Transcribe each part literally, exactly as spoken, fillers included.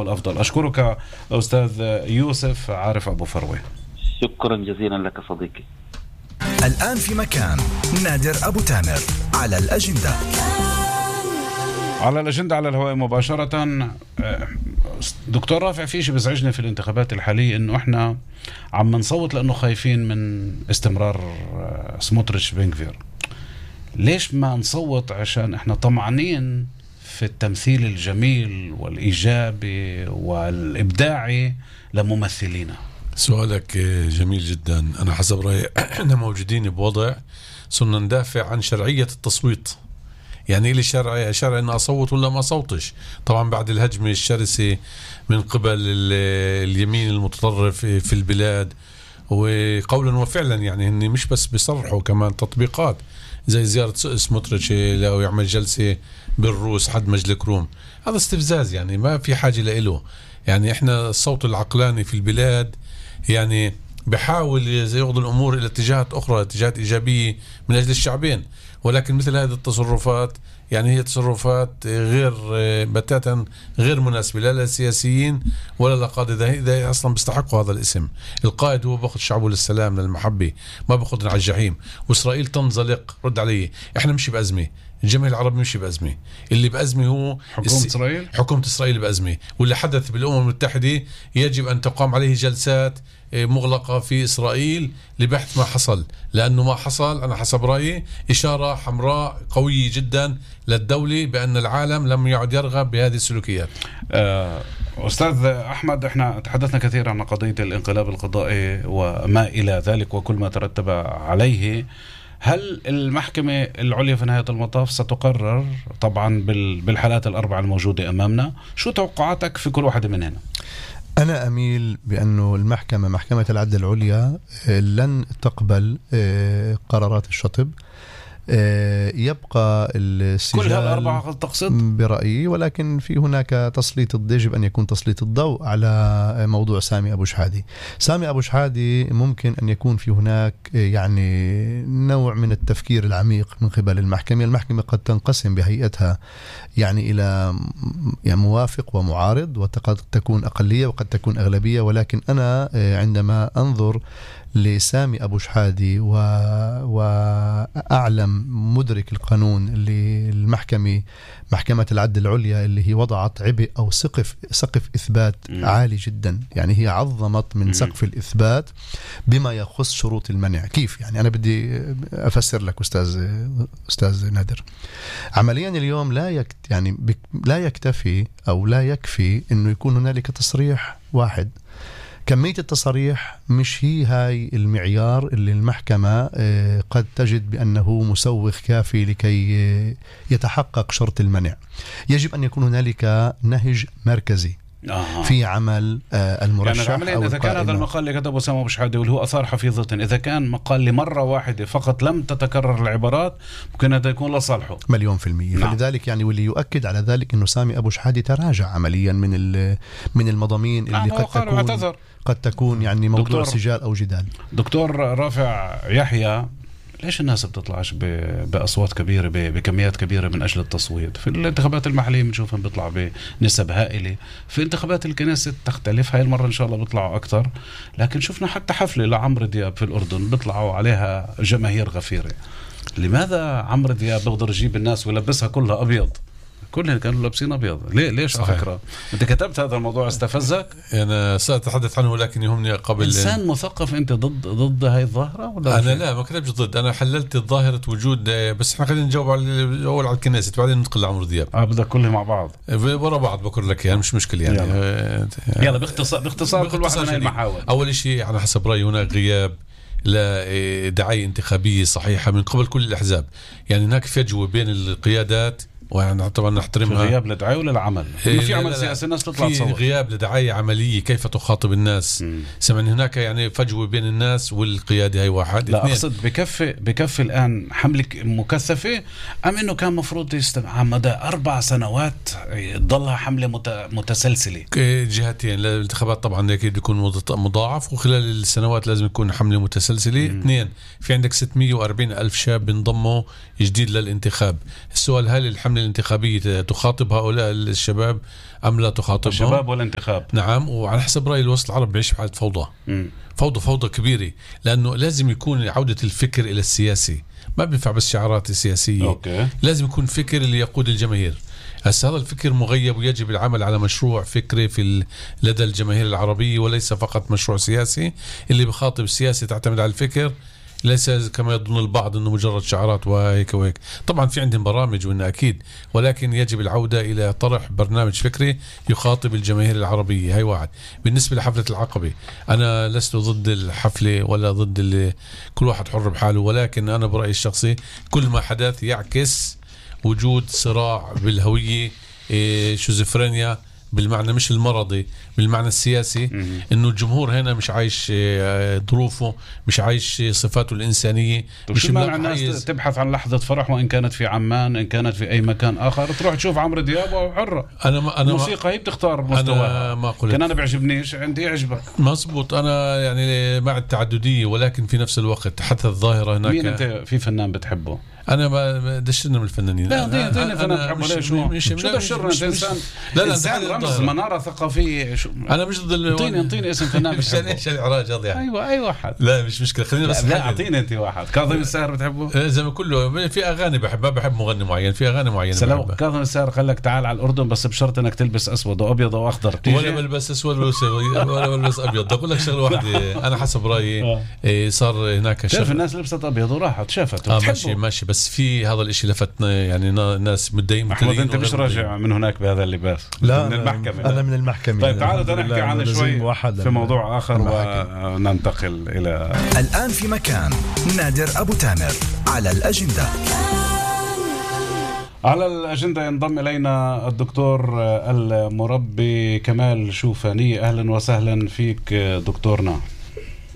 الأفضل. أشكرك أستاذ يوسف عارف أبو فروة. شكرا جزيلا لك صديقي. الآن في مكان نادر أبو تامر على الأجندة. على الأجندة على الهواء مباشرة. دكتور رافع، في شيء بزعجني في الانتخابات الحالية إنه إحنا عم نصوت لأنه خايفين من استمرار سموتريتش بنغفير. ليش ما نصوت عشان إحنا طمعانين في التمثيل الجميل والإيجابي والإبداعي لممثلينا؟ سؤالك جميل جدا. أنا حسب رأيي إحنا موجودين بوضع صرنا ندافع عن شرعية التصويت. يعني لي شرعي شرعي أن أصوت ولا ما أصوتش. طبعا بعد الهجمة الشرسة من قبل اليمين المتطرف في البلاد، وقولا وفعلا يعني هني مش بس بيصرحوا، كمان تطبيقات زي زيارة سموتريتش لو يعمل جلسة بالروس حد مجلك روم. هذا استفزاز، يعني ما في حاجة لإله. يعني إحنا الصوت العقلاني في البلاد يعني بحاول ياخذ الأمور إلى اتجاهات أخرى، اتجاهات إيجابية من أجل الشعبين، ولكن مثل هذه التصرفات يعني هي تصرفات غير بتاتا غير مناسبة لا للسياسيين ولا لقادة. إذا أصلا بيستحقوا هذا الاسم. القائد هو بأخذ شعبه للسلام للمحبة، ما بأخذنا على الجحيم. وإسرائيل تنزلق. رد علي، إحنا مشي بأزمة، الجميع العربي مشي بأزمة. اللي بأزمة هو حكومة إسرائيل. حكومة إسرائيل بأزمة، واللي حدث بالأمم المتحدة يجب أن تقام عليه جلسات مغلقة في إسرائيل لبحث ما حصل، لأنه ما حصل أنا حسب رأيي إشارة حمراء قوية جدا للدولة بأن العالم لم يعد يرغب بهذه السلوكيات. أستاذ أحمد، احنا تحدثنا كثيرا عن قضية الانقلاب القضائي وما إلى ذلك وكل ما ترتب عليه. هل المحكمة العليا في نهاية المطاف ستقرر طبعا بالحالات الأربعة الموجودة أمامنا؟ شو توقعاتك في كل واحدة من هنا؟ أنا أميل بأنه المحكمة محكمة العدل العليا لن تقبل قرارات الشطب. يبقى السجال كل هالأربعة تقصد برأيي، ولكن في هناك تسليط يجب أن يكون تسليط الضوء على موضوع سامي أبو شحادي. سامي أبو شحادي ممكن أن يكون في هناك يعني نوع من التفكير العميق من قبل المحكمة. المحكمة قد تنقسم بهيئتها يعني إلى يعني موافق ومعارض، وقد تكون أقلية وقد تكون أغلبية، ولكن أنا عندما أنظر لسامي أبو شحادي و... وأعلم مدرك القانون اللي المحكمة محكمة العدل العليا اللي هي وضعت عبء أو سقف سقف إثبات م. عالي جدا. يعني هي عظمت من م. سقف الإثبات بما يخص شروط المنع. كيف يعني؟ أنا بدي أفسر لك أستاذ أستاذ نادر. عمليا اليوم لا يكت يعني بك... لا يكتفي أو لا يكفي إنه يكون هنالك تصريح واحد. كمية التصريح مش هي هاي المعيار اللي المحكمة قد تجد بأنه مسوغ كافي لكي يتحقق شرط المنع. يجب أن يكون هنالك نهج مركزي آه. في عمل المرشح. يعني أو إذا كان هذا المقال اللي كتبه سامي أبو شحادي واللي هو أثار حفيظة، إذا كان مقال لمرة واحدة فقط لم تتكرر العبارات، ممكن هذا يكون لصالحه مليون في المية. نعم. فلذلك يعني واللي يؤكد على ذلك إنه سامي أبو شحادي تراجع عمليا من من المضامين اللي نعم قد تكون اعتذر. قد تكون يعني موضوع دكتور سجال أو جدال. دكتور رافع يحيى، ليش الناس بتطلعش بأصوات كبيرة بكميات كبيرة من أجل التصويت؟ في الانتخابات المحلية بنشوفهم بيطلع بنسب هائلة، في انتخابات الكنيسة تختلف. هاي المرة إن شاء الله بيطلعوا أكتر، لكن شفنا حتى حفلة لعمرو دياب في الأردن بيطلعوا عليها جماهير غفيرة. لماذا عمرو دياب بيقدر يجيب الناس ويلبسها كلها أبيض؟ كلهم كانوا لابسين أبيض. ليه ليش على فكرة أنت كتبت هذا الموضوع استفزك؟ أنا سأتحدث عنه، ولكن يهمني قبل. إنسان مثقف أنت ضد ضد هاي الظاهرة ولا؟ أنا لا ما كتبتش ضد، أنا حللت ظاهرة وجود. بس إحنا خلينا نجاوب على أول على الكنيسة بعدين ندخل لعمرو دياب. آه بدك كلهم مع بعض ورا بعض بقول لك يعني مش مشكلة يعني. يلا, يلا باختصار باختصار كل واحد من المحاور. أول شيء على حسب رأيي هناك غياب لا دعاية انتخابية صحيحة من قبل كل الأحزاب. يعني هناك فجوة بين القيادات، ويعني طبعا نحترمها. في غياب لدعاية ولا العمل؟ إيه في عمل سياسي الناس تطلع تصور. في غياب لدعاية عملية كيف تخاطب الناس. سمعني هناك يعني فجوة بين الناس والقيادة. هاي واحد. لا أقصد بكفي بكفي الآن حملة مكثفة، أم إنه كان مفروض يستمع على مدى أربع سنوات تضلها حملة متسلسلة؟ جهتين الانتخابات طبعا أكيد يكون مضاعف، وخلال السنوات لازم يكون حملة متسلسلة. م. اثنين، في عندك ستمية وأربعين ألف شاب بينضموا جديد للانتخاب. السؤال هل الحملة الحملة الانتخابية تخاطب هؤلاء الشباب أم لا تخاطبهم؟ الشباب والانتخاب. نعم. وعلى حسب رأي الوسط العربي بيعيش بحالة فوضى. م. فوضى فوضى كبيرة، لأنه لازم يكون عودة الفكر إلى السياسي، ما بينفع بس شعارات سياسية. أوكي. لازم يكون فكر اللي يقود الجماهير. هسا هذا الفكر مغيب، ويجب العمل على مشروع فكري في لدى الجماهير العربية، وليس فقط مشروع سياسي اللي بخاطب السياسي تعتمد على الفكر، ليس كما يظن البعض انه مجرد شعارات وهيك وهيك. طبعا في عندهم برامج وإنه اكيد، ولكن يجب العودة الى طرح برنامج فكري يخاطب الجماهير العربية. هاي واحد. بالنسبة لحفلة العقبة، انا لست ضد الحفلة ولا ضد اللي كل واحد حر بحاله، ولكن انا برأيي الشخصي كل ما حدث يعكس وجود صراع بالهوية، إيه شيزوفرينيا بالمعنى مش المرضي، بالمعنى السياسي. م- انه الجمهور هنا مش عايش ظروفه، مش عايش صفاته الانسانيه. مش معنى الناس تبحث عن لحظه فرح، وان كانت في عمان، ان كانت في اي مكان اخر، تروح تشوف عمرو دياب وحره. انا ما انا الموسيقى هي بتختار مستواها. انا ما قلت كان انا بيعجبنيش، عندي يعجبك. مزبوط. انا يعني مع التعدديه، ولكن في نفس الوقت حتى الظاهره هناك. مين انت في فنان بتحبه؟ انا ما دشرنا من الفنانين. لا اعطيني اعطيني فنان بتحبه. ليش شو مش شو دشرنا؟ انت انسان، لا لا انسان رمز مناره ثقافيه. شو انا مش ضد. اعطيني اعطيني اسم فنان بتحبه. ايش الاعراج هذا يعني؟ ايوه اي واحد. لا مش مشكله، خلينا بس. لا اعطيني انت واحد. كاظم الساهر بتحبه؟ زي ما كله في اغاني بحبها، بحب مغني معين، في اغاني معينه بحبها. كاظم الساهر قال لك تعال على الاردن بس بشرط انك تلبس اسود وابيض واخضر. ولا بلبس اسود ولا بلبس ابيض. اقول لك شغله واحده، انا حسب رايي صار هناك شاف الناس لبست ابيض وراحت شافت. اه ماشي ماشي، بس في هذا الشيء لفتنا يعني ناس متضايقين. احمد انت مش راجع من هناك بهذا اللباس؟ لا من المحكمة. انا من المحكمة. طيب تعالوا نحكي عن شوي في موضوع اخر وننتقل الى الان في مكان. نادر ابو تامر على الاجندة. على الأجندة ينضم إلينا الدكتور المربي كمال شوفاني. أهلا وسهلا فيك دكتورنا.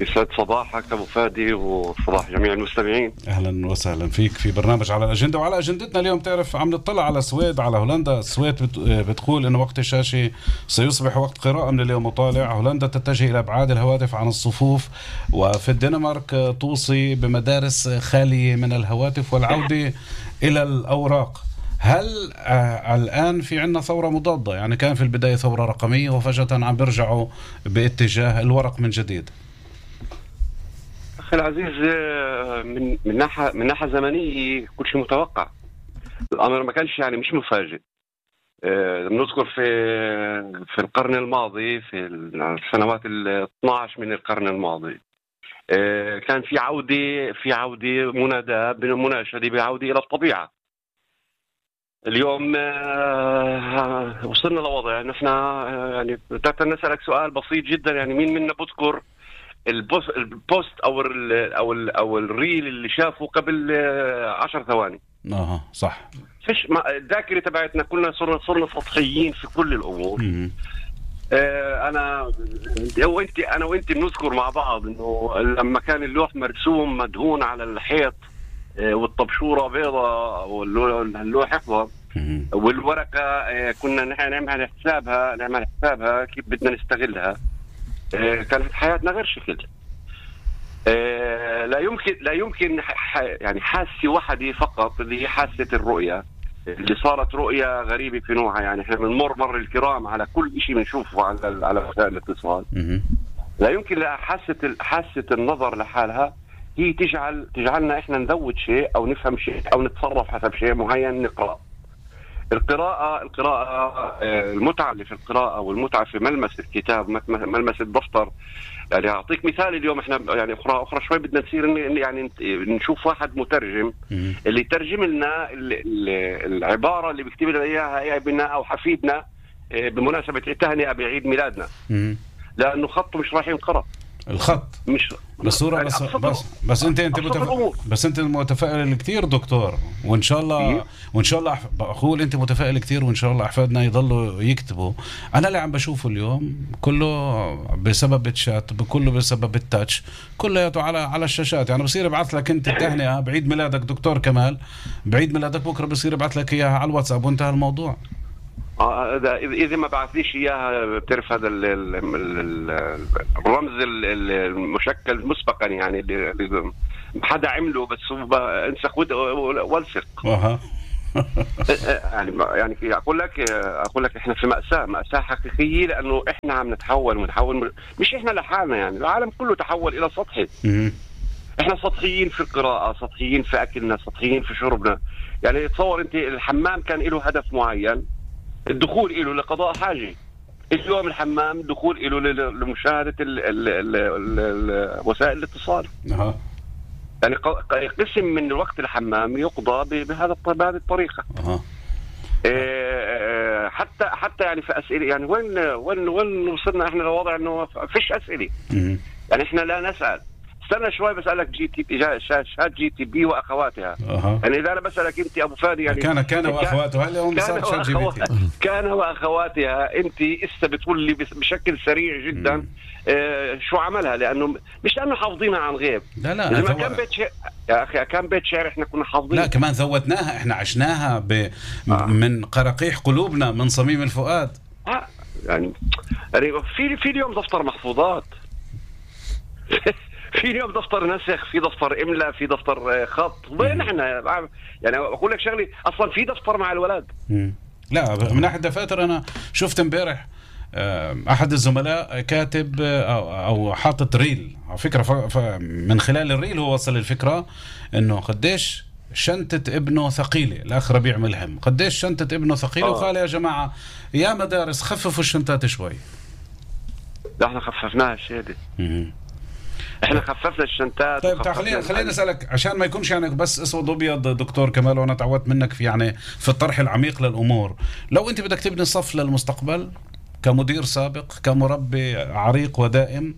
يسعد صباحك أبو فادي وصباح جميع المستمعين. أهلا وسهلا فيك في برنامج على الأجندة. وعلى أجندتنا اليوم تعرف عم نطلع على السويد، على هولندا. السويد بتقول إنه وقت الشاشة سيصبح وقت قراءة من اليوم وطالع. هولندا تتجه إلى إبعاد الهواتف عن الصفوف، وفي الدنمارك توصي بمدارس خالية من الهواتف والعودة إلى الأوراق. هل آه الآن في عنا ثورة مضادة؟ يعني كان في البداية ثورة رقمية وفجأة عم بيرجعوا باتجاه الورق من جديد. أخي العزيز، من من ناحية من ناحية زمنية كل شيء متوقع. الأمر ما كانش يعني مش مفاجئ. نذكر في في القرن الماضي، في السنوات الاثنى عشر من القرن الماضي، كان في عودة في عودة مناداة بالمناشدة بعودة إلى الطبيعة. اليوم وصلنا لوضع نحن يعني بدنا نسألك سؤال بسيط جدا. يعني مين منا بذكر البوست او ال او ال او الريل اللي شافه قبل عشر ثواني؟ اه صح. فيش الذاكره تبعتنا كلنا صرنا صرنا سطحيين في كل الامور. آه انا وانت انا وانت بنذكر مع بعض انه لما كان اللوح مرسوم مدهون على الحيط، آه والطبشوره بيضاء واللوح احمر، والورقه آه كنا نحن نعمل حسابها نعمل حسابها كيف بدنا نستغلها. آه كانت حياتنا غير شكل. آه لا يمكن لا يمكن يعني حاسه واحده فقط اللي هي حاسه الرؤيه، اللي صارت رؤيه غريبه في نوعها. يعني احنا بنمر مر الكرام على كل شيء بنشوفه على على وسائل الاتصال. لا يمكن لا حاسه حاسه النظر لحالها هي تجعل تجعلنا احنا نذوق شيء او نفهم شيء او نتصرف حسب شيء معين نقرأ. القراءة القراءة المتعة اللي في القراءة والمتعة في ملمس الكتاب، ملمس الدفتر. يعني أعطيك مثال. اليوم إحنا يعني أخرى أخرى شوي بدنا نصير يعني نشوف واحد مترجم اللي يترجم لنا العبارة اللي بيكتب لنا إياها ابننا أو حفيدنا بمناسبة التهنئة بعيد ميلادنا، لأنه خطه مش راح ينقرأ. الخط مش بصورة يعني بس بس بس انت انت متفائل بس انت متفائل كثير دكتور، وان شاء الله إيه؟ وان شاء الله بقول انت متفائل كثير، وان شاء الله احفادنا يضلوا يكتبوا. انا اللي عم بشوفه اليوم كله بسبب الشات، كله بسبب التاتش، كلياته على على الشاشات. يعني بصير ابعث لك انت التهنئة بعيد ميلادك دكتور كمال، بعيد ميلادك بكره بصير ابعث لك اياها على الواتساب وانتهى الموضوع. اه اذا ما بعثليش اياها بتعرف هذا الرمز المشكل مسبقا، يعني اللي حدا عمله بس انسخ والصق. اها يعني يعني اقول لك اقول لك احنا في مأساة مأساة حقيقية، لانه احنا عم نتحول ونتحول، مش احنا لحالنا، يعني العالم كله تحول الى سطحي. احنا سطحيين في القراءة، سطحيين في اكلنا، سطحيين في شربنا. يعني تصور انت الحمام كان له هدف معين، الدخول له لقضاء حاجة. اليوم الحمام الدخول له لمشاهدة ال ال ال ال وسائل الاتصال. أه. يعني قسم من الوقت الحمام يقضى بهذا بهذه الطريقة. أه. إيه حتى حتى يعني في أسئلة، يعني وين وين وين وصلنا احنا لوضع انه فيش أسئلة. يعني احنا لا نسأل. استنى شوي بسألك جي تي بي شات جي تي بي واخواتها. أه. يعني اذا انا بسألك انت ابو فادي، يعني كان كان واخواتها، هلا هم صار شات جي بي تي. كان واخواتها، انت اسا بتقول لي بشكل سريع جدا اه شو عملها، لانه مش لانه حافظينها عن غيب. لا لا اذا ما كان بيت شعر يا اخي، كان بيت شعر احنا كنا حافظينها. لا كمان ذوتناها، احنا عشناها ب... آه. من قرقيح قلوبنا، من صميم الفؤاد. اه يعني يعني في في اليوم دفتر محفوظات في اليوم دفتر نسخ، في دفتر املاء، في دفتر خط. وين احنا؟ يعني اقول لك شغلي، اصلا في دفتر مع الولد. مم. لا من ناحيه دفاتر، انا شفت امبارح احد الزملاء كاتب او, أو حاطط ريل على فكره، ف... ف... من خلال الريل هو وصل الفكره انه قديش شنطة ابنه ثقيلة. الأخ ربيع ملهم قديش شنطة ابنه ثقيلة. آه. وقال يا جماعة يا مدارس خففوا الشنطات شوي. ده احنا خففناها الشيء دي. احنا خففنا الشنطات. طيب خلينا خلينا اسالك عشان ما يكونش يعني بس اسود ابيض دكتور كمال، وانا تعودت منك في يعني في الطرح العميق للامور. لو انت بدك تبني صف للمستقبل كمدير سابق، كمربي عريق ودائم،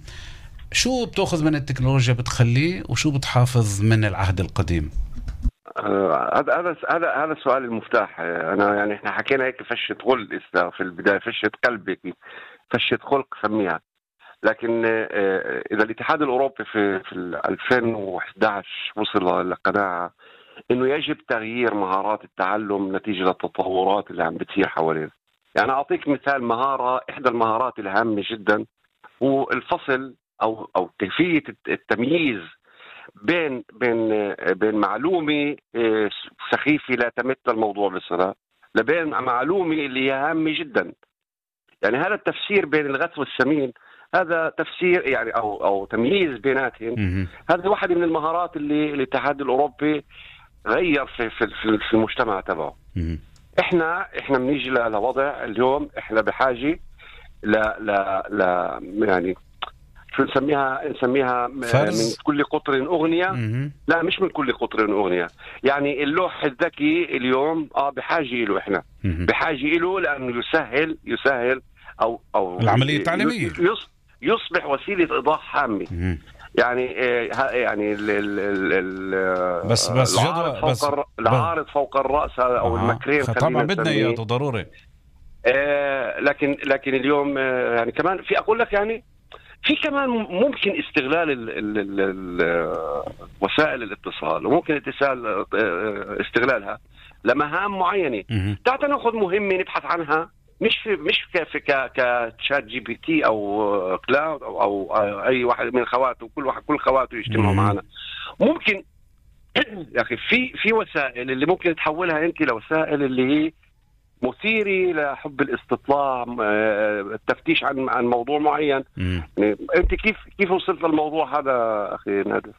شو بتاخذ من التكنولوجيا بتخليه، وشو بتحافظ من العهد القديم؟ هذا هذا هذا هذا السؤال المفتاح. انا يعني احنا حكينا هيك فشة غل في البدايه، فشة قلبك، فشة خلق سميها. لكن اذا الاتحاد الاوروبي في في ألفين وإحدى عشر وصل لقناعه انه يجب تغيير مهارات التعلم نتيجه للتطورات اللي عم بتصير حوالينا. يعني اعطيك مثال، مهاره احدى المهارات الهامه جدا هو الفصل او او كيفيه التمييز بين بين بين معلومه سخيفه لا تمت الموضوع بصله، لبين معلومه اللي هي هامه جدا. يعني هذا التفسير بين الغث والسمين، هذا تفسير يعني او او تمييز بيناتهم. هذه واحده من المهارات اللي الاتحاد الاوروبي غير في في في المجتمع تبعه. احنا احنا بنيجي لوضع اليوم احنا بحاجه لا لا لا يعني شو نسميها نسميها من كل قطر اغنيه. لا مش من كل قطر اغنيه، يعني اللوح الذكي اليوم اه بحاجه له، احنا بحاجه له لانه يسهل يسهل او او العمليه التعليميه، يصبح وسيله ايضاح هامه. يعني يعني ال ال ال بس بس العارض فوق بس الر... العارض فوق الراس او آه. المكرين طبعا بدنا اياه ضروري. آه لكن لكن اليوم آه يعني كمان في اقول لك يعني في كمان ممكن استغلال ال ال ال ال وسائل الاتصال، وممكن اتصال استغلالها لمهام معينه. تعال ناخذ مهمه نبحث عنها، مش في مش في كشات جي بي تي او كلاود او, أو اي واحد من خواته، كل واحد كل خواته يجتمعوا معنا. ممكن يا اخي في في وسائل اللي ممكن تحولها انت لوسائل اللي هي مثيرة لحب الاستطلاع، التفتيش عن عن موضوع معين. يعني انت كيف كيف وصلت للموضوع هذا اخي نادر؟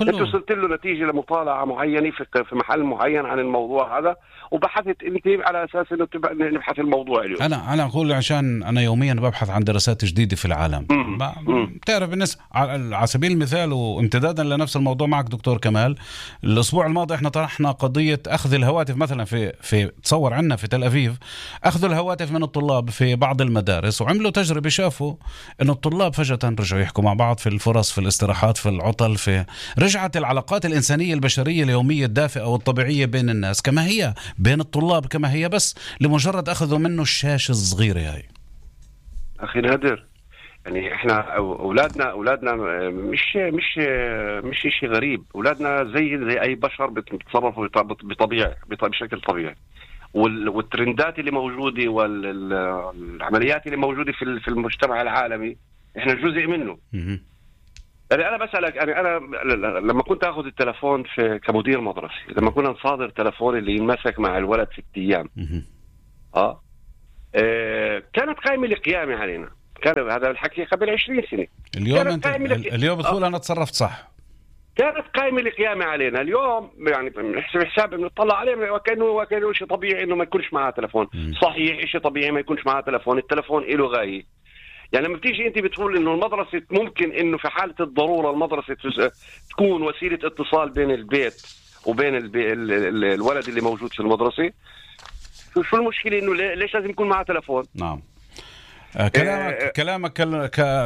انت وصلت له نتيجه لمطالعه معينه في في محل معين عن الموضوع هذا، وبحثت انت على اساس انه نبحث الموضوع اليوم. انا انا اقول عشان انا يوميا ببحث عن دراسات جديده في العالم. بتعرف بالنسبه على سبيل المثال وامتدادا لنفس الموضوع معك دكتور كمال، الاسبوع الماضي احنا طرحنا قضيه اخذ الهواتف مثلا في في تصور عنا في تل ابيب، اخذوا الهواتف من الطلاب في بعض المدارس، وعملوا تجربه شافوا انه الطلاب فجاه رجعوا يحكوا مع بعض في الفرص، في الاستراحات، في العطل، في رجعت العلاقات الإنسانية البشرية اليومية الدافئة والطبيعية بين الناس كما هي، بين الطلاب كما هي، بس لمجرد أخذوا منه الشاشة الصغيرة هاي. أخي نادر، يعني إحنا أولادنا أولادنا مش مش مش شيء غريب، أولادنا زي زي أي بشر بيتصرفوا بطبيعة بشكل طبيعي، والترندات اللي موجودة والعمليات اللي موجودة في في المجتمع العالمي إحنا جزء منه. يعني انا بسالك يعني انا لما كنت اخذ التلفون في كمدير مدرسي، لما كنا نصادر تلفون اللي ينمسك مع الولد ست ايام اه آه، كانت قائمه القيامه علينا. كان هذا الحكي قبل عشرين سنة. اليوم انت اليوم بتقول آه. انا تصرفت صح. كانت قائمه القيامه علينا. اليوم يعني بنحسب حساب بنطلع عليه وكانه وكانه شيء طبيعي انه ما يكونش معاه تلفون. م. صحيح شيء طبيعي ما يكونش معاه تلفون، التلفون له غايه. يعني لما بتيجي انت بتقول انه المدرسه ممكن انه في حاله الضروره المدرسه تكون وسيله اتصال بين البيت وبين البي... ال... ال... الولد اللي موجود في المدرسه، شو المشكله انه ليش لازم يكون معاه تلفون؟ نعم. كلامك آه كلامك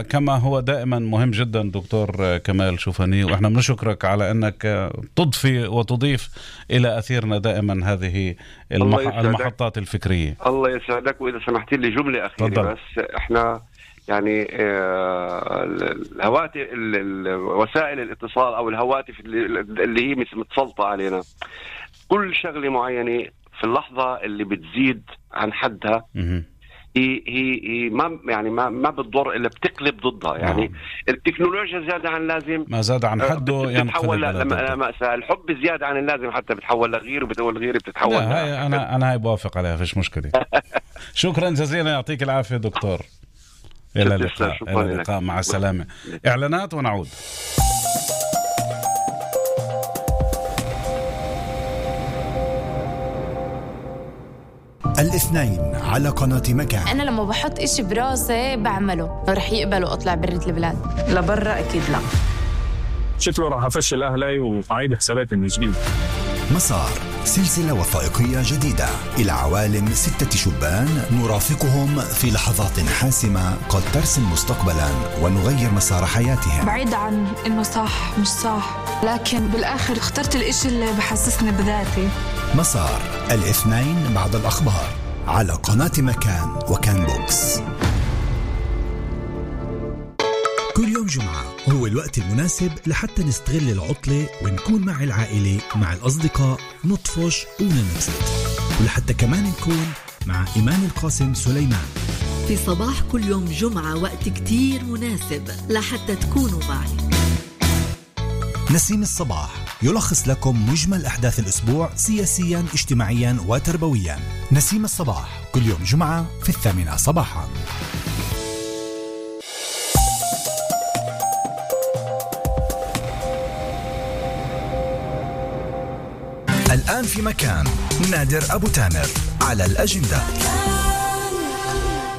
كما هو دائما مهم جدا دكتور كمال شوفاني، واحنا بنشكرك على انك تضفي وتضيف الى اثيرنا دائما هذه المح... المحطات الفكريه. الله يسعدك. واذا سمحت لي جمله اخيره طبعا. بس احنا يعني الهواتف وسائل الاتصال او الهواتف اللي هي متسلطه علينا، كل شغله معينه في اللحظه اللي بتزيد عن حدها م- هي هي ما يعني ما ما بتضر الا بتقلب ضدها. يعني نعم. التكنولوجيا زياده عن اللازم، ما زاد عن حده بتتحول لمأساة. الحب زياده عن اللازم حتى بتتحول لغير، وبتقول غير بتتحول. لا هاي انا انا هاي بوافق عليها، فيش مشكله. شكرا جزيلا، يعطيك العافيه دكتور. الى اللقاء. الى اللقاء، مع السلامه. اعلانات ونعود. الاثنين على قناة مكان. أنا لما بحط إشي براسي بعمله، رح يقبلوا أطلع برة البلاد. لبرا أكيد لا. شكله راح أفشل أهلي وأعيد حساباتي من جديد. مسار، سلسلة وثائقية جديدة إلى عوالم ستة شبان نرافقهم في لحظات حاسمة قد ترسم مستقبلا ونغير مسار حياتهم. بعيد عن إنه صح مش صح، لكن بالآخر اخترت الإشي اللي بحسسني بذاتي. مسار، الاثنين بعد الأخبار على قناة مكان وكان بوكس. كل يوم جمعة هو الوقت المناسب لحتى نستغل العطلة ونكون مع العائلة مع الأصدقاء، نطفش وننبسط، ولحتى كمان نكون مع إيمان القاسم سليمان في صباح كل يوم جمعة. وقت كتير مناسب لحتى تكونوا معي. نسيم الصباح يلخص لكم مجمل أحداث الأسبوع سياسيا اجتماعيا وتربويا. نسيم الصباح كل يوم جمعة في الثامنة صباحا. الآن في مكان نادر أبو تامر على الأجندة.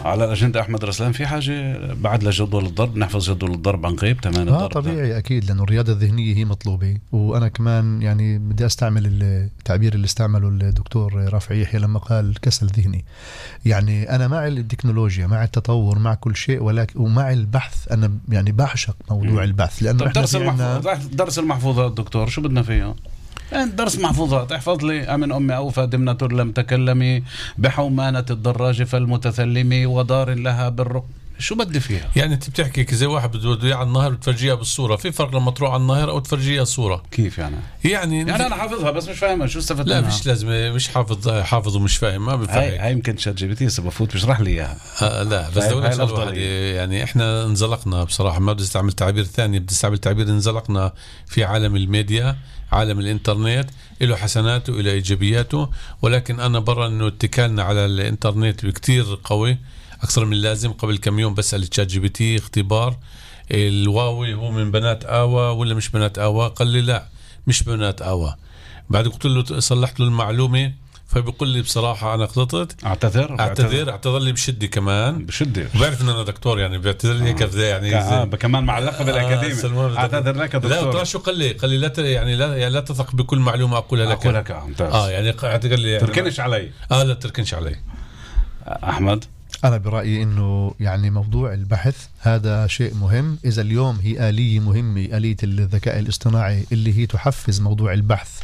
على الأجندة أحمد رسلان، في حاجة بعد لجدول الضرب، نحفظ جدول الضرب عن قريب تمام الضرب. آه طبيعي ده. أكيد، لأنه الرياضة الذهنية هي مطلوبة. وأنا كمان يعني بدي أستعمل التعبير اللي استعمله الدكتور رافع يحيى لما قال كسل ذهني. يعني أنا مع التكنولوجيا، مع التطور، مع كل شيء، ولكن ومع البحث. أنا يعني بعشق موضوع م. البحث. لأنه درس المحفوظات، درس المحفوظات دكتور شو بدنا فيه؟ درس محفوظات. احفظ لي أمن أمي أوفى دمنة لم تكلمي بحومانة الدراجة فالمتثلمي ودار لها بالرق. شو بدي فيها؟ يعني انت بتحكي زي واحد بده اياه على النهر بتفرجيها بالصورة. في فرق لما تروح على النهر او تفرجيها صورة. كيف يعني؟ يعني يعني انا حافظها بس مش فاهمها، شو استفدت لا منها؟ مش لازم مش حافظ حافظ ومش فاهم، ما بفهم. هاي هاي يمكن شات جي بي تي بفوت بيشرح لي اياها. آه لا بس واحد يعني احنا انزلقنا بصراحة، ما بدي استعمل تعبير ثاني، بدي استعمل تعبير انزلقنا في عالم الميديا، عالم الانترنت. له حسناته وله ايجابياته، ولكن انا برا انه اتكالنا على الانترنت بكتير قوي اكثر من اللازم. قبل كم يوم بسأل تشات جي بي تي اختبار، الواوي هو من بنات آوا ولا مش بنات آوا؟ قال لي لا مش بنات آوا. بعد قلت له صلحت له المعلومة، فبيقول لي بصراحة أنا غلطت، اعتذر اعتذر اعتذر لي بشدة كمان بشدة. وبعرف إن أنا دكتور يعني بيعتذر لي هيك آه. يعني آه كمان مع اللقب آه الأكاديمي. آه اعتذر لك دكتور. لا شو قال لي؟ قال لي لا يعني لا يعني لا تثق بكل معلومة أقولها لك. أقول لك ممتاز. اه يعني قال لي يعني تركنش علي. اه لا تركنش علي. أحمد، أنا برأيي إنه يعني موضوع البحث هذا شيء مهم. إذا اليوم هي آلية مهمة، آلية الذكاء الاصطناعي اللي هي تحفز موضوع البحث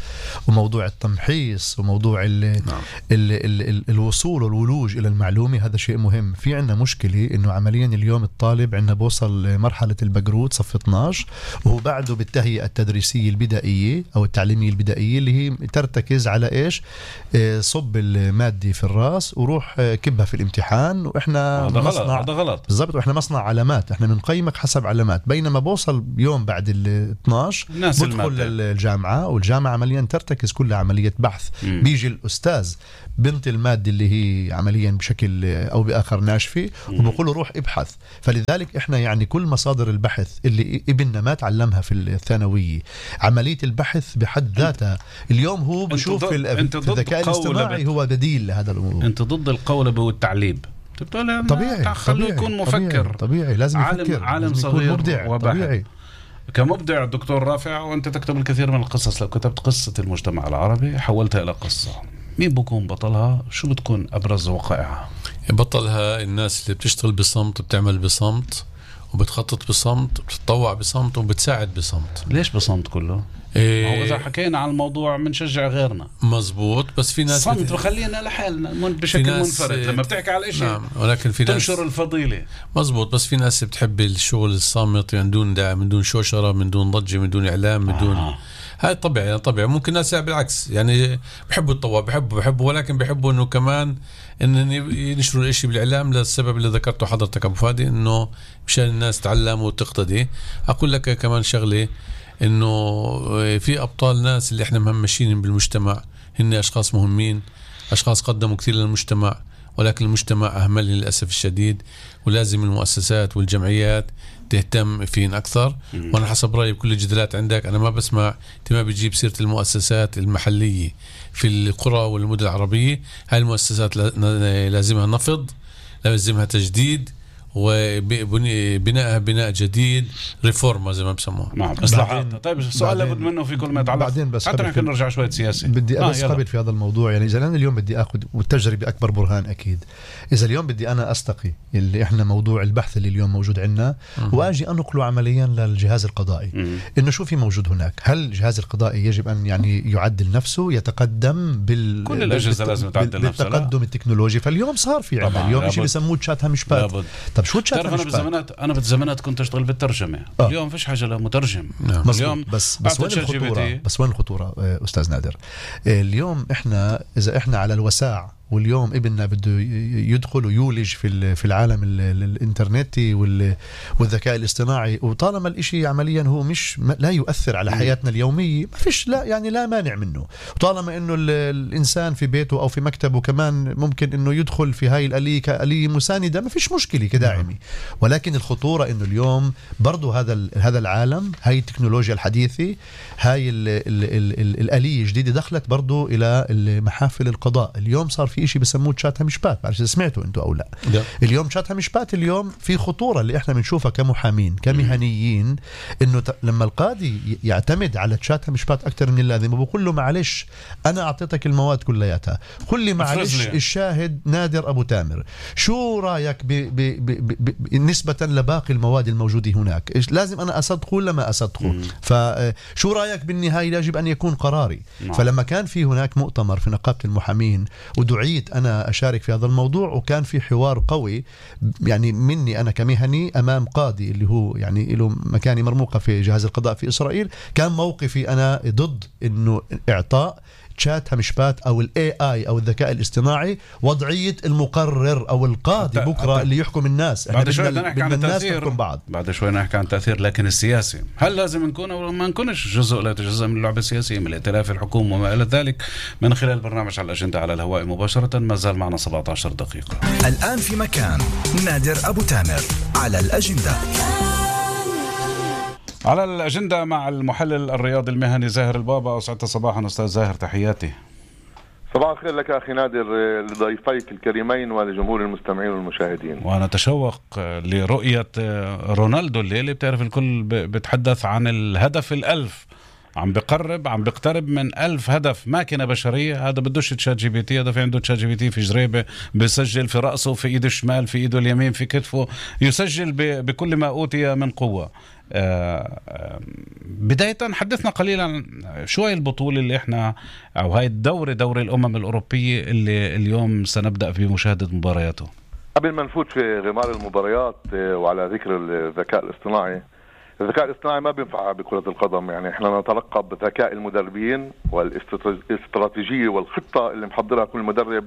وموضوع التمحيص وموضوع ال نعم. ال ال ال الوصول والولوج إلى المعلومة، هذا شيء مهم. في عنا مشكلة إنه عمليا اليوم الطالب عنا بوصل مرحلة البقروت صف اثناشر وهو بعده بالتهيئة التدريسية البدائية أو التعليمية البدائية اللي هي ترتكز على إيش؟ صب المادة في الراس وروح كبها في الامتحان واحنا هذا غلط، مصنع هذا غلط بالضبط، واحنا مصنع علامات، احنا بنقيمك حسب علامات. بينما بوصل يوم بعد ال اثناشر بدخل للجامعه والجامعه عمليا ترتكز كلها عمليه بحث. مم. بيجي الاستاذ بنت الماده اللي هي عمليا بشكل او باخر ناشفه وبقول له روح ابحث. فلذلك احنا يعني كل مصادر البحث اللي ابننا ما تعلمها في الثانويه، عمليه البحث بحد ذاتها اليوم هو بشوف في الذكاء الاصطناعي هو بديل لهذا الامور. انت ضد القولبه والتعليب. طبيعي خلوه يكون مفكر. طبيعي, طبيعي. لازم عالم يفكر، عالم لازم صغير مبدع. وباحث. طبيعي. كمبدع دكتور رافع، وانت تكتب الكثير من القصص، لو كتبت قصة المجتمع العربي حولتها الى قصة، مين بكون بطلها؟ شو بتكون ابرز وقائعها؟ بطلها الناس اللي بتشتغل بصمت، بتعمل بصمت، وبتخطط بصمت، بتتطوع بصمت، وبتساعد بصمت. ليش بصمت كله؟ إيه، ما هو إذا حكينا عن الموضوع بنشجع غيرنا. مزبوط، بس في ناس صمت بخلينا لحالنا بشكل منفرد. لما بتحكي على الاشي نعم، ولكن في ناس تنشر الفضيلة. مزبوط، بس في ناس بتحب الشغل الصامت، يعني من دون دعم، من دون شوشرة، من دون ضجة، من دون إعلام، من دون آه. هاي طبيعي، يعني طبيعي. ممكن ناس بالعكس، يعني بحبوا الطواب، بحبوا بحبوا ولكن بحبوا انه كمان ان ينشروا الاشي بالاعلام، للسبب اللي ذكرته حضرتك ابو فادي، انه مشان الناس تعلم وتقتدي. اقول لك كمان شغله، انه في ابطال ناس اللي احنا مهمشين بالمجتمع، هن اشخاص مهمين، اشخاص قدموا كثير للمجتمع، ولكن المجتمع اهمل للاسف الشديد، ولازم المؤسسات والجمعيات تهتم فين أكثر. مم. وأنا حسب رأيي بكل الجدالات عندك أنا ما بسمع أنت ما بتجيب سيرة المؤسسات المحلية في القرى والمدن العربية. هاي المؤسسات لازمها نفض، لازمها تجديد، وبناء بناء جديد، ريفورما زي ما بسموها. نعم، اصلاحات. طيب السؤال لابد منه في كل ما يتعلق، بعدين بس حتى نحن نرجع شويه سياسي. بدي بس آه قبل في هذا الموضوع، يعني اذا انا اليوم بدي اخذ، والتجربه اكبر برهان اكيد، اذا اليوم بدي انا استقي اللي احنا موضوع البحث اللي اليوم موجود عندنا واجي انقله عمليا للجهاز القضائي، مم. انه شو في موجود هناك، هل الجهاز القضائي يجب ان يعني يعدل نفسه، يتقدم بال كل الاجهزه بالت... لازم تعدل نفسها بالتقدم التكنولوجي. فاليوم صار في عندنا اليوم شيء بيسموه تشات همشبات. طب شو تشات همشبات؟ انا بالزمانات انا بالزمانات كنت اشتغل بالترجمه. آه. اليوم فيش حاجه لمترجم. نعم. اليوم بس بس وين الخطوره؟ بس وين الخطوره استاذ نادر؟ اليوم احنا اذا احنا على الوساع، واليوم ابننا بده يدخل ويولج في في العالم الانترنتي والذكاء الاصطناعي، وطالما الاشي عمليا هو مش لا يؤثر على حياتنا اليوميه، ما فيش لا يعني لا مانع منه. وطالما انه الانسان في بيته او في مكتبه كمان ممكن انه يدخل في هاي الاليه كاليه مسانده، ما فيش مشكله كداعمه. ولكن الخطوره انه اليوم برضو هذا هذا العالم، هاي التكنولوجيا الحديثه، هاي ال ال ال ال الاليه الجديده دخلت برضو الى محافل القضاء. اليوم صار في شيء بسموه تشات همشبات، بعرف اذا سمعتوا انتوا او لا. ده. اليوم تشات همشبات اليوم في خطوره اللي احنا بنشوفها كمحامين كمهنيين، انه ت... لما القاضي يعتمد على تشات همشبات اكثر من اللازم وبقول له معلش انا اعطيتك المواد كلياتها، قل لي معلش الشاهد نادر ابو تامر شو رايك ب... ب... ب... ب... ب... نسبه لباقي المواد الموجوده هناك، إيش لازم انا اصدقه ولا ما اصدقه؟ فشو رايك بالنهايه يجب ان يكون قراري. مم. فلما كان في هناك مؤتمر في نقابه المحامين ودعي أنا أشارك في هذا الموضوع، وكان في حوار قوي يعني مني أنا كمهني أمام قاضي اللي هو يعني له مكاني مرموقة في جهاز القضاء في إسرائيل، كان موقفي أنا ضد إنه إعطاء تشات همشبات أو ال إيه آي أو الذكاء الاصطناعي وضعية المقرر أو القاضي بكرة اللي يحكم الناس. بعد شوي بدنا نحكي عن التأثير، بعض بعد شوي نحكي عن التأثير، لكن السياسي هل لازم نكون أو ما نكونش جزء لا جزء من اللعبة السياسية، من الائتلاف الحكومة وما إلى ذلك، من خلال برنامج على الأجندة على الهواء مباشرة. ما زال معنا سبعة عشر دقيقة. الآن في مكان نادر أبو تامر على الأجندة. على الأجندة مع المحلل الرياضي المهني زاهر البابا. أسعدت صباحا أستاذ زاهر، تحياتي. صباح الخير لك أخي نادر، لضيفيك الكريمين ولجمهور المستمعين والمشاهدين. وأنا أتشوق لرؤية رونالدو الليلة. بتعرف الكل بتحدث عن الهدف الألف، عم بقرب عم بقترب من ألف هدف ماكينة بشرية. هذا بدوش تشات جي بي تي، هذا في عنده تشات جي بي تي في جريبة، بيسجل في رأسه، في إيده الشمال، في إيده اليمين، في كتفه، يسجل بكل ما أوتي من قوة. آه آه بداية حدثنا قليلا شوي البطولة اللي احنا او هاي الدورة، دوري الامم الاوروبية اللي اليوم سنبدأ في مشاهدة مبارياته. قبل ما نفوت في غمار المباريات وعلى ذكر الذكاء الاصطناعي، الذكاء الاصطناعي ما بينفع بكرة القدم. يعني احنا نترقب ذكاء المدربين والاستراتيجية والخطة اللي محضرها كل مدرب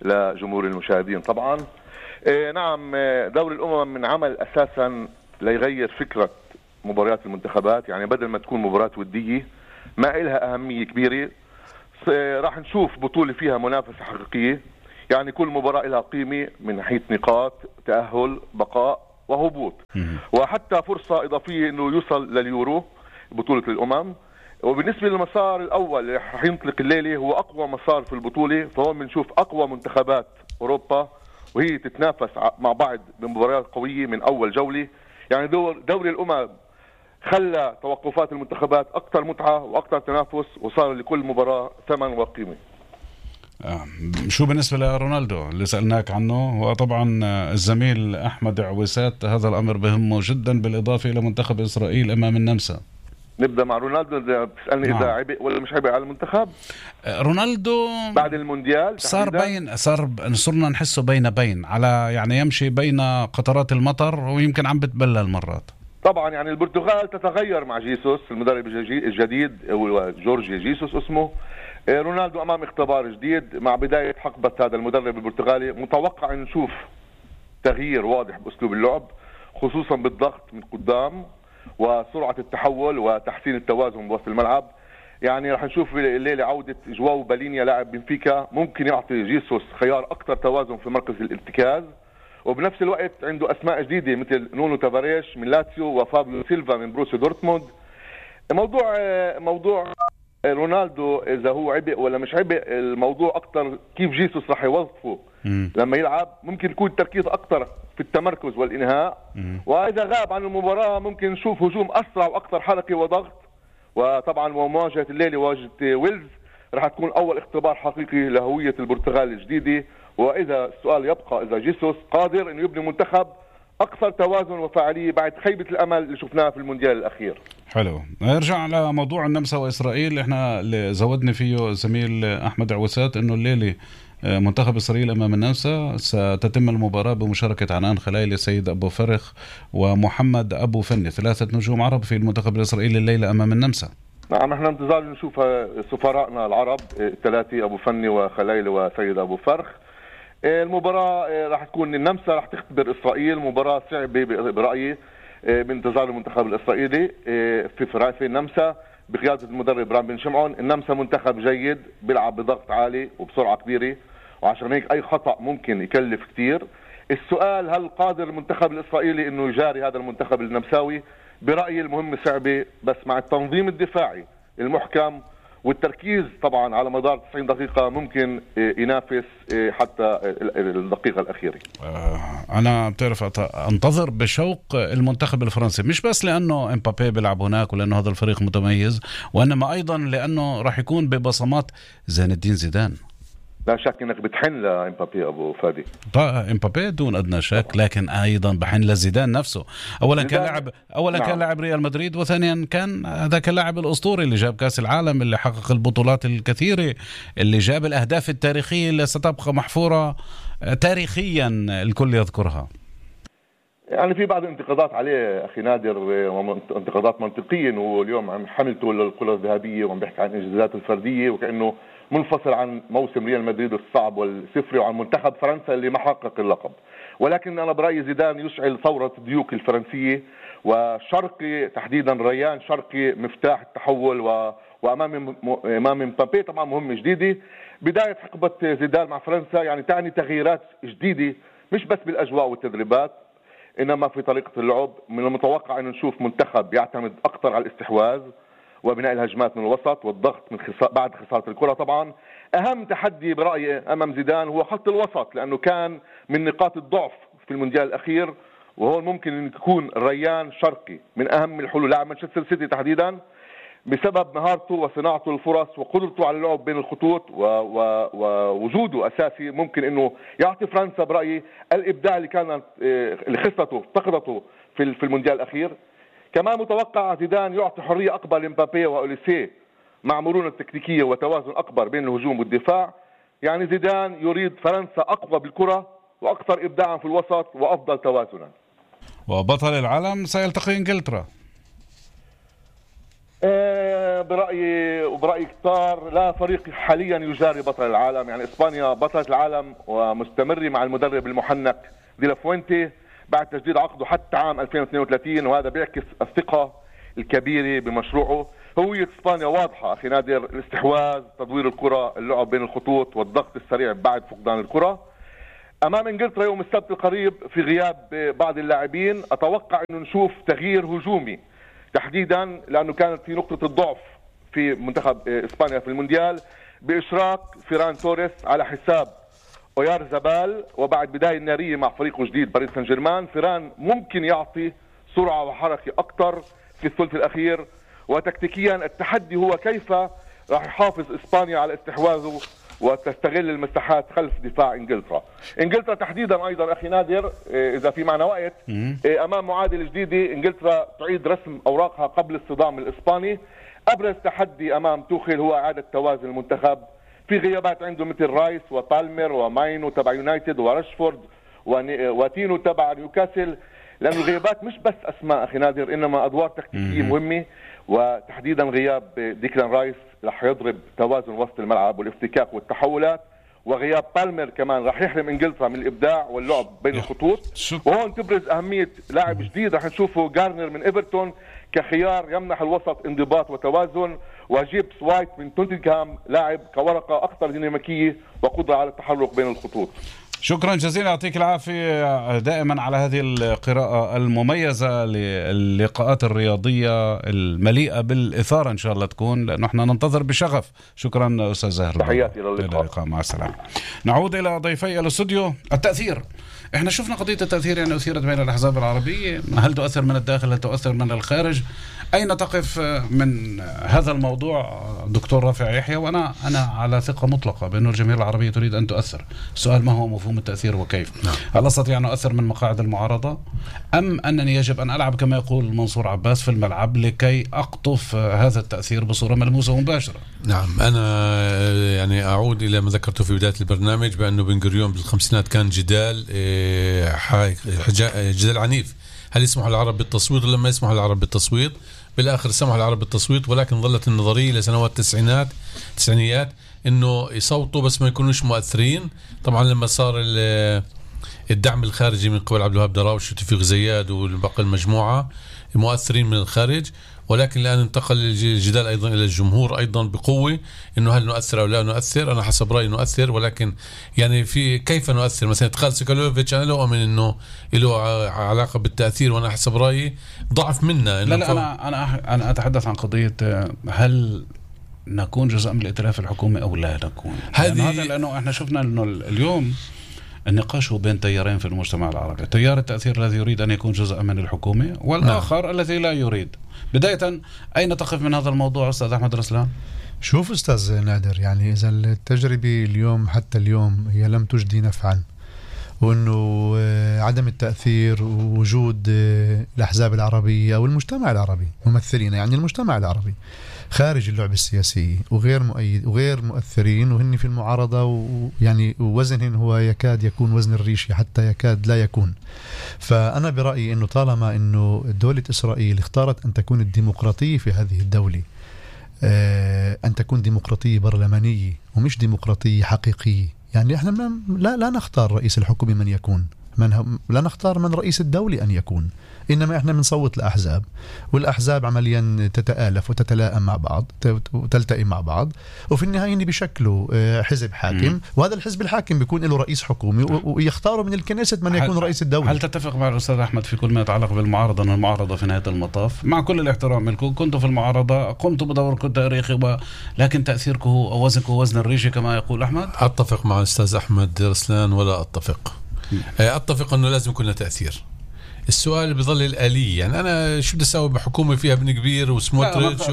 لجمهور المشاهدين. طبعا إيه نعم، دوري الأمم من عمل أساسا ليغير فكرة مباريات المنتخبات. يعني بدل ما تكون مباراة ودية ما إلها أهمية كبيرة، راح نشوف بطولة فيها منافسة حقيقية. يعني كل مباراة لها قيمة من ناحية نقاط، تأهل، بقاء وهبوط، وحتى فرصة إضافية إنه يوصل لليورو بطولة الأمم. وبالنسبة للمسار الأول اللي رح ينطلق الليلة هو أقوى مسار في البطولة، فهو بنشوف أقوى منتخبات أوروبا وهي تتنافس مع بعض بمباريات قوية من أول جولة. يعني دور دوري الأمم خلى توقفات المنتخبات أكثر متعة وأكثر تنافس، وصار لكل مباراة ثمن وقيمة. آه. شو بالنسبة لرونالدو اللي سألناك عنه؟ وطبعا الزميل أحمد عويسات هذا الأمر بهمه جدا، بالإضافة إلى منتخب إسرائيل أمام النمسا. نبدأ مع رونالدو. بتسألني نعم. إذا عبء ولا مش عبء على المنتخب؟ رونالدو بعد المونديال صار بين صار صرنا نحسه بين بين على يعني يمشي بين قطرات المطر ويمكن عم بتبلل مرات. طبعا يعني البرتغال تتغير مع جيسوس المدرب الجديد جورجي جيسوس اسمه. رونالدو أمام اختبار جديد مع بداية حقبة هذا المدرب البرتغالي. متوقع أن نشوف تغيير واضح بأسلوب اللعب، خصوصا بالضغط من قدام وسرعة التحول وتحسين التوازن بوسط الملعب. يعني رح نشوف الليلة عودة جواو بالينيا لاعب بنفيكا، ممكن يعطي جيسوس خيار أكثر توازن في مركز الارتكاز، وبنفس الوقت عنده أسماء جديدة مثل نونو تافاريش من لاتسيو وفابيو سيلفا من بروسيا دورتموند. موضوع موضوع رونالدو إذا هو عبء ولا مش عبء، الموضوع أكتر كيف جيسوس رح يوظفه م. لما يلعب. ممكن يكون التركيز أكتر في التمركز والإنهاء، م. وإذا غاب عن المباراة ممكن نشوف هجوم أسرع وأكثر حركة وضغط. وطبعا مواجهة الليلة مواجهة ويلز رح تكون أول اختبار حقيقي لهوية البرتغال الجديدة. وإذا السؤال يبقى إذا جيسوس قادر إنه يبني منتخب أكثر توازن وفعالية بعد خيبة الأمل اللي شفناها في المونديال الأخير. حلو. نرجع على موضوع النمسا وإسرائيل. احنا اللي زودني فيه زميل أحمد عوسات إنه الليلة منتخب إسرائيل أمام النمسا ستتم المباراة بمشاركة عنان خلايلي، سيد أبو فرخ ومحمد أبو فني، ثلاثة نجوم عرب في المنتخب الإسرائيلي الليلة أمام النمسا. نعم، احنا انتظار نشوف سفراءنا العرب الثلاثة أبو فني وخلايلي وسيد أبو فرخ. المباراة راح تكون النمسا راح تختبر إسرائيل، مباراة صعبة برأيي بانتظار المنتخب الإسرائيلي في في النمسا بقيادة المدرب رام بن شمعون. النمسا منتخب جيد بيلعب بضغط عالي وبسرعة كبيرة، وعشان هيك أي خطأ ممكن يكلف كتير. السؤال هل قادر المنتخب الإسرائيلي إنه يجاري هذا المنتخب النمساوي؟ برأيي المهمة صعبة، بس مع التنظيم الدفاعي المحكم والتركيز طبعا على مدار تسعين دقيقة ممكن ينافس حتى الدقيقة الأخيرة. أنا بتعرف أنتظر بشوق المنتخب الفرنسي، مش بس لأنه إمبابي بيلعب هناك ولأنه هذا الفريق متميز، وإنما أيضا لأنه راح يكون ببصمات زين الدين زيدان. لا شك انك بتحن لإمبابي ابو فادي. طيب إمبابي دون ادنى شك، لكن ايضا بحن لزيدان نفسه. اولا كان لاعب اولا نعم. كان لاعب ريال مدريد، وثانيا كان هذاك اللاعب الاسطوري اللي جاب كاس العالم، اللي حقق البطولات الكثيره، اللي جاب الاهداف التاريخيه اللي ستبقى محفوره تاريخيا الكل يذكرها. يعني في بعض الانتقادات عليه اخي نادر، انتقادات منطقيه، انه اليوم عم حملته للكره الذهبيه وعم بيحكي عن انجازاته الفرديه وكانه منفصل عن موسم ريال مدريد الصعب والسفري وعن منتخب فرنسا اللي ما حقق اللقب. ولكن انا برايي زيدان يشعل ثوره ديوك الفرنسيه، وشرقي تحديدا ريان شرقي مفتاح التحول، و... وامام امام مبابي طبعا مهمه جديده. بدايه حقبه زيدان مع فرنسا يعني تعني تغييرات جديده، مش بس بالاجواء والتدريبات انما في طريقه اللعب. من المتوقع ان نشوف منتخب يعتمد اكثر على الاستحواذ وبناء الهجمات من الوسط والضغط من خسا... بعد خساره الكره. طبعا اهم تحدي برايي امام زيدان هو خط الوسط، لانه كان من نقاط الضعف في المونديال الاخير، وهون ممكن ان يكون ريان شرقي من اهم الحلول، لاعب مانشستر سيتي تحديدا، بسبب مهارته وصناعته للفرص وقدرته على اللعب بين الخطوط و... و... ووجوده اساسي، ممكن انه يعطي فرنسا برايي الابداع اللي كانت اللي خسرته افتقدته في في المونديال الاخير. كمان متوقع زيدان يعطي حريه اكبر لمبابي واوليسيه مع مرونه تكتيكيه وتوازن اكبر بين الهجوم والدفاع. يعني زيدان يريد فرنسا اقوى بالكره واكثر ابداعا في الوسط وافضل توازنا. وبطل العالم سيلتقي انجلترا. أه برأيي وبرأيي كتار لا فريق حاليا يجاري بطل العالم. يعني إسبانيا بطلة العالم ومستمرة مع المدرب المحنك دي لافوينتي بعد تجديد عقده حتى عام ألفين واثنين وثلاثين، وهذا بيعكس الثقة الكبيرة بمشروعه. هوية اسبانيا واضحة اخي نادر، الاستحواذ، تدوير الكرة، اللعب بين الخطوط والضغط السريع بعد فقدان الكرة. امام انجلترا يوم السبت القريب في غياب بعض اللاعبين اتوقع انه نشوف تغيير هجومي تحديدا، لانه كانت في نقطة الضعف في منتخب اسبانيا في المونديال باشراك فيران توريس على حساب اويار زبال، وبعد بداية نارية مع فريقه الجديد باريس سان جيرمان فيران ممكن يعطي سرعة وحركة اكثر في الثلث الاخير. وتكتيكيا التحدي هو كيف راح يحافظ اسبانيا على استحواذه وتستغل المساحات خلف دفاع انجلترا. انجلترا تحديدا ايضا اخي نادر اذا في معنا وقت امام معادله جديده، انجلترا تعيد رسم اوراقها قبل الصدام الاسباني. ابرز تحدي امام توخيل هو اعاده توازن المنتخب في غيابات عنده مثل رايس وبالمر وماينو تبع يونايتد وراشفورد وتينو تبع نيوكاسل، لأن الغيابات مش بس أسماء أخي نادر إنما أدوار تكتيكية مهمة، وتحديدا غياب ديكلان رايس رح يضرب توازن وسط الملعب والافتكاك والتحولات، وغياب بالمر كمان رح يحرم إنجلترا من الإبداع واللعب بين الخطوط. وهون تبرز أهمية لاعب جديد رح نشوفه جارنر من إيفرتون كخيار يمنح الوسط انضباط وتوازن، وجيبس وايت من توتنهام لاعب كورقة أكثر ديناميكية وقدرة على التحرك بين الخطوط. شكرا جزيلا، يعطيك العافية دائما على هذه القراءة المميزة للقاءات الرياضية المليئة بالإثارة إن شاء الله تكون، لأنه احنا ننتظر بشغف. شكرا أستاذ زاهر، تحياتي للقاء، مع السلامة. نعود إلى ضيفي الاستوديو. التأثير، احنا شفنا قضية التأثير يعني أثيرت بين الأحزاب العربية، هل تؤثر من الداخل هل تؤثر من الخارج؟ أين تقف من هذا الموضوع دكتور رافع يحيى؟ وأنا أنا على ثقة مطلقة بأن الجماهير العربية تريد أن تؤثر. السؤال ما هو مفهوم التأثير وكيف؟ نعم. هل أستطيع أن أؤثر من مقاعد المعارضة، أم أنني يجب أن ألعب كما يقول منصور عباس في الملعب لكي أقطف هذا التأثير بصورة ملموسة ومباشرة؟ نعم، أنا يعني أعود إلى ما ذكرته في بداية البرنامج بأنه بن غوريون بالخمسينات كان جدال جدال عنيف، هل يسمح العرب بالتصويت ولا ما يسمح العرب بالتصويت؟ بالآخر سمح العرب بالتصويت، ولكن ظلت النظرية لسنوات التسعينات التسعينيات إنه يصوتوا بس ما يكونوش مؤثرين. طبعا لما صار الدعم الخارجي من قبل عبد الوهاب دراوش وتوفيق زياد والباقي المجموعة مؤثرين من الخارج، ولكن الآن انتقل الجدال أيضا إلى الجمهور أيضا بقوة إنه هل نؤثر أو لا نؤثر. أنا حسب رأيي نؤثر، ولكن يعني في كيف نؤثر. مثلا ادخال سيكالوفيتش أنا لا أؤمن إنه له علاقة بالتأثير، وأنا حسب رأيي ضعف منا. لا لا أنا أنا أنا أتحدث عن قضية هل نكون جزء من الائتلاف الحكومي أو لا نكون. هذه هذا لأنه إحنا شفنا إنه اليوم النقاش هو بين تيارين في المجتمع العربي، تيار التأثير الذي يريد أن يكون جزء من الحكومة، والآخر نعم. الذي لا يريد. بداية أين تقف من هذا الموضوع أستاذ أحمد رسلان؟ شوف أستاذ نادر، يعني إذا التجربة اليوم حتى اليوم هي لم تجدي نفعا، وأنه عدم التأثير ووجود الأحزاب العربية أو المجتمع العربي ممثلين، يعني المجتمع العربي خارج اللعبة السياسية وغير مؤيد وغير مؤثرين وهن في المعارضة، ويعني وزنهن هو يكاد يكون وزن الريشة حتى يكاد لا يكون. فأنا برأيي أنه طالما أنه دولة إسرائيل اختارت أن تكون الديمقراطية في هذه الدولة أن تكون ديمقراطية برلمانية ومش ديمقراطية حقيقية، يعني احنا لا لا نختار رئيس الحكومة من يكون، من لا نختار من رئيس الدولة أن يكون، إنما إحنا بنصوت الأحزاب، والأحزاب عمليا تتآلف وتتلائم مع بعض وتلتئم مع بعض، وفي النهاية بيشكلوا حزب حاكم، م. وهذا الحزب الحاكم بيكون له رئيس حكومي ويختاروا من الكنيسة من يكون رئيس الدولة. هل تتفق مع الأستاذ أحمد في كل ما يتعلق بالمعارضة أن المعارضة في نهاية المطاف مع كل الاحترام لكم كنتوا في المعارضة قمتوا بدوركم التاريخي، لكن تأثيركم أو وزنكم وزن الريشة كما يقول أحمد؟ أتفق مع الأستاذ أحمد رسلان ولا أتفق. م. أتفق أنه لازم يكون تأثير. السؤال بيظل الآلية، يعني أنا شو بدي أسوي بحكومة فيها ابن كبير وسموتريتش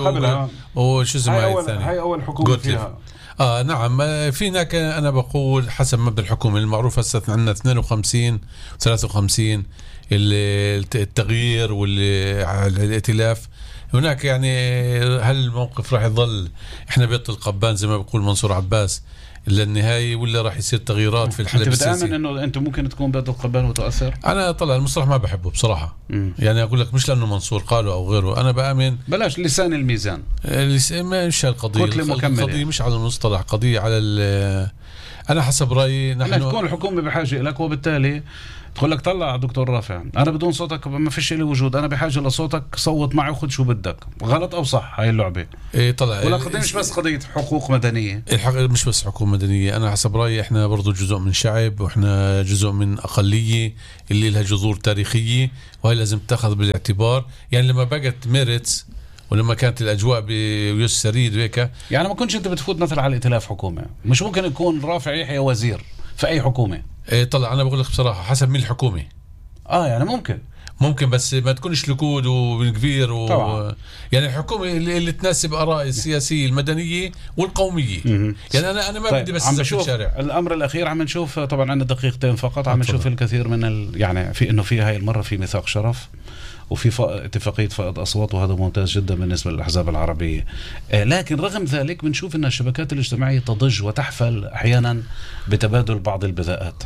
وشو اسمها الثانية؟ هاي أول حكومة فيها. آه نعم، في هناك أنا بقول حسب مبدأ الحكومة المعروف هسه عندنا اثنين وخمسين ثلاثة وخمسين التغيير والائتلاف. هناك يعني هل الموقف راح يظل إحنا بيت القبان زي ما بيقول منصور عباس للنهاية، ولا راح يصير تغييرات في الحلب السياسي؟ انت بتآمن انه انتم ممكن تكون بيت القبان وتؤثر؟ انا طلع المصطلح ما بحبه بصراحة. مم. يعني اقول لك مش لانه منصور قاله او غيره، انا بآمن بلاش لسان الميزان. مش القضية، القضية مش على المصطلح، قضية على انا حسب رأيي نحن تكون الحكومة بحاجة لك، وبالتالي تقول لك طلع دكتور رافع انا بدون صوتك ما فيش لي وجود، انا بحاجه لصوتك، صوت معي وخذ شو بدك. غلط او صح هاي اللعبه؟ ايه طلع ولا قضيه مش بس قضيه حقوق مدنيه؟ الحق مش بس حقوق مدنيه، انا حسب رايي احنا برضو جزء من شعب، واحنا جزء من اقليه اللي لها جذور تاريخيه، وهي لازم تاخذ بالاعتبار. يعني لما بقت ميرتس ولما كانت الاجواء بيوس سريد وهيك، يعني ما كنتش انت بتفوت مثلا على ائتلاف حكومه، مش ممكن يكون رافع يحيى وزير في اي حكومه؟ ايه طلع انا بقول لك بصراحه حسب مين الحكومه. اه يعني ممكن ممكن بس ما تكونش لكود وكبير و... طبعا. يعني الحكومه اللي, اللي تناسب اراء السياسيه المدنيه والقوميه. م- يعني انا انا ما طيب. بدي بس عم في بشوف الشارع. الامر الاخير عم نشوف طبعا عندنا دقيقتين فقط، عم نشوف الكثير من ال... يعني في انه في هاي المره في ميثاق شرف وفي ف... اتفاقيه فائض اصوات، وهذا ممتاز جدا بالنسبه للاحزاب العربيه. آه لكن رغم ذلك بنشوف ان الشبكات الاجتماعيه تضج وتحفل احيانا بتبادل بعض البذاءات.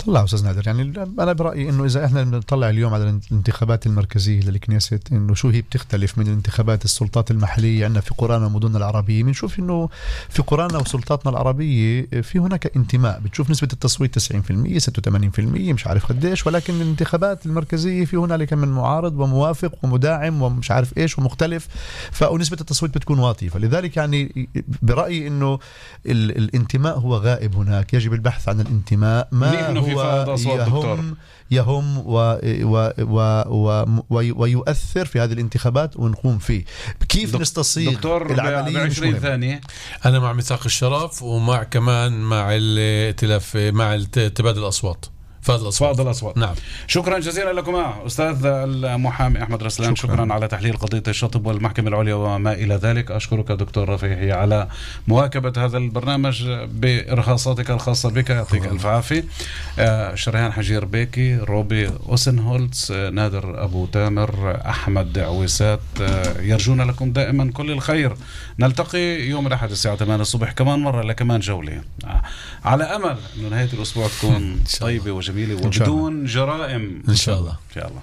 طلع أستاذ نادر، يعني أنا برأيي إنه إذا إحنا بنطلع اليوم على الانتخابات المركزية للكنيست، إنه شو هي بتختلف من الانتخابات السلطات المحلية عندنا في قرانا ومدننا العربية، بنشوف إنه في قرانا وسلطاتنا العربية في هناك انتماء، بتشوف نسبة التصويت تسعين بالمئة ستة وثمانين بالمئة مش عارف قديش، ولكن الانتخابات المركزية في هنالك من معارض وموافق ومداعم ومش عارف إيش ومختلف، فنسبة التصويت بتكون واطية. فلذلك يعني برأيي إنه ال الانتماء هو غائب هناك، يجب البحث عن الانتماء. ما هو يهم يهم و و و و ويؤثر في هذه الانتخابات ونقوم فيه. كيف نستصيغ العملية بعشرين ثانية؟ أنا مع ميثاق الشرف، ومع كمان مع الائتلاف مع تبادل الأصوات. فاضل الأصوات. فاضل الأصوات. نعم. شكرا جزيلا لكم أستاذ المحامي أحمد رسلان. شكرا, شكرا على تحليل قضية الشطب والمحكمة العليا وما إلى ذلك. أشكرك دكتور رفيعي على مواكبة هذا البرنامج بإرهاصاتك الخاصة بك، يعطيك ألف عافية. آه شريان حجير بيكي، روبي أوسنهولتز، آه نادر أبو تامر، أحمد عويسات، آه يرجون لكم دائما كل الخير. نلتقي يوم الأحد الساعة ثمانية الصبح كمان مرة لكمان جولة، آه على أمل أن نهاية الأسبوع تكون طيبة وجميلة وبدون جرائم إن شاء الله. إن شاء الله.